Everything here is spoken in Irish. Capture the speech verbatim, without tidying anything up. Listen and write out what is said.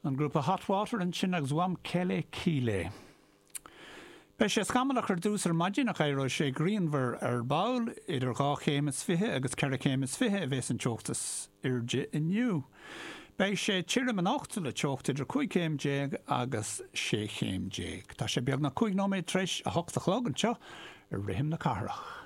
An grúpa Hot Water ansin agus Wamkele Kile. Beidh sé scamallach ar dtús ar maidin ach éireoidh sé grianmhar ar ball idir dhá chéim is fiche agus ceithre chéim is fiche a bheas an teocht is airde inniu. Beidh sé tirim anocht le teocht idir cúig chéim déag agus sé chéim déag. Tá sé beagnach cúig nóiméad tar éis a hocht a chlog anseo ar rithim na cathrach.